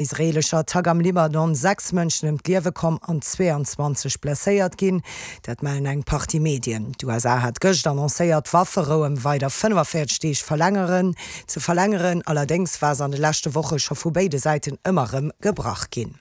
Israeelescher Attack am Libanon 6 Mënschen ëm d'Liewe komm an 22 blesséiert ginn. Dat mellen eng Partie Medien. D'USA hat gëscht annoncéiert, d'Wafferou ëm weider 45 Deeg verlängeren ze verlängeren. Allerdéngs war se an de leschte Woche scho vu béide Säiten ëmmer rëm gebrach ginn.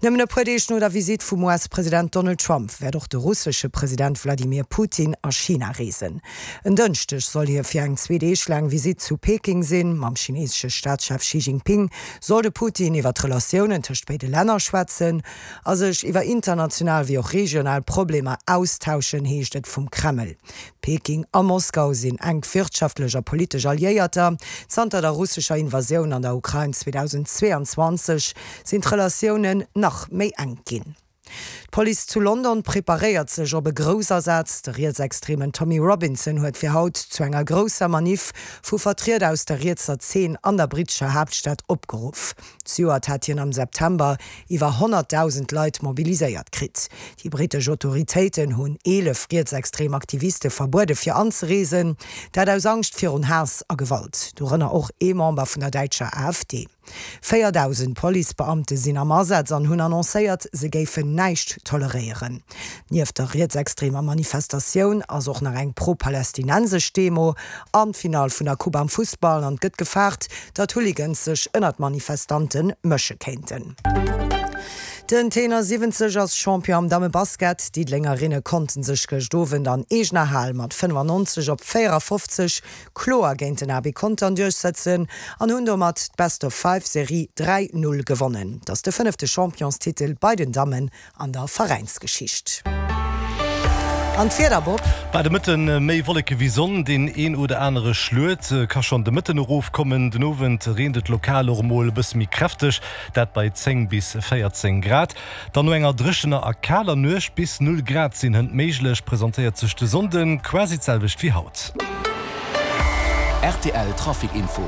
Nëmmen e puer Deeg no der Visitt vum US-President Donald Trump wäert och de russesche President Wladimir Putin a China reesen. En Dënschdeg soll hie fir eng zwee Deeg laang Visitt zu Peking sinn. Mam chineesesche Staatschef Xi Jinping soll de Putin iwwer d'Relatiounen tëscht béide Länner schwätzen a sech iwwer international wéi och regional Problemer austauschen, heescht et vum Kreml. Peking a Moskau sinn enk wirtschaftlech a politesch Alliéierter. Zanter der russescher Invasioun an der Ukrain 2022 sinn d'Relatiounen nach méi enk ginn. D'Police zu London preparéiert sech op e Groussasaz. De rietsextremen Tommy Robinson huet fir haut zu enger grousser Maniff vu Vertrieder aus der rietser Zeen an der brittescher Haaptstad opgeruff. Zejoert hat hien am September iwwer 100.000 Leit mobiliséiert kritt. Déi brittesch Autoritéiten hunn 11 rietsextrem Aktiviste verbuede fir anzereesen, dat aus Angscht virun Haass a Gewalt, dorënner och ee Member vun der däitscher AfD. 4.000 Policebeamte sinn am Asaz an hunn annoncéiert, se géifen näischt toleréieren. Nieft der rietsextremer Manifestatioun ass och nach eng pro-palästinensesch Demo an d'Finall vun der Coupe am Fussball an et gëtt gefaart, datt Hooligans sech ënner d'Manifestante mësche kéinten. Den Tenor 70 ass Champion am Dammebasket. D'Diddelengerinne konnten sech gëscht Owend an eegener Hal mat 95 op 54 kloer géint den AB Contern duerchsëtzen an hunn domat d'Best-of-Five-Serie 3, 0 gewonnen. Et ass de fënnefte Championstitel bei den Dammen An der Veräinsgeschicht. An d'Wieder, Bob? Bei de Mëtten méi Wolleke wéi Sonn, deen een oder anere Schluet ka schonn de Mëtten erofkommen. Den Owend reent et lokal och emol e bësse méi kräfteg, dat bei 10 bis 14 Grad. Dann no enger dréchener a kaler Nuecht, bis 0 Grad sinn hënt méiglech, presentéiert sech de Sonnde quasi d'selwecht wéi haut. Rtl Trafic Info.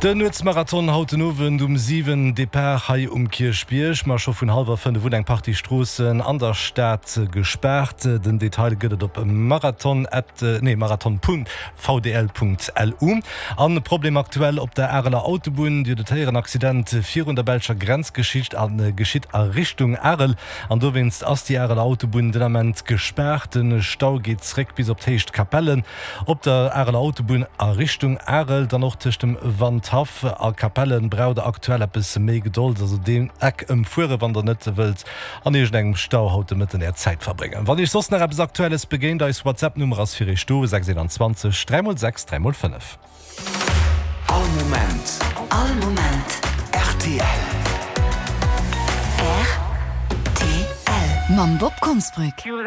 Den Nuetsmarathon haut den Owend um 7, Depart hei um Kierchbierg. Ma scho vun hallwer 5 un eng Partie Stroossen an der Stad gespaart. Den Detail gëtt et op marathon at, nee marathon Punkt vdl Punkt lu. An Problem aktuell op der Areler Autobunn, Dir hutt et héieren, Accident virun der belscher Grenz geschitt a geschitt a Richtung Arel. An dowéinst ass déi Areler Autobunn den Ament gespaart. De Stau geet zréck bis op d'Héicht Capellen. Op der Areler Autobunn a Richtung Arel, dann och tëscht dem Wandhaff a Capellen, braucht der aktuell eppes méi Gedold. Also deen Eck ëmfuere wann der net wëllt an iergendengem Stau haut de Mëtten är Zäit verbréngen. Wann iech soss nach eppes Aktuelles begéint, eis WhatsApp Nummer ass fir iech do, 621 3 x 6 3 x 5. All Moment. All Moment. Rtl. Rtl. Mam Bob Konsbrück.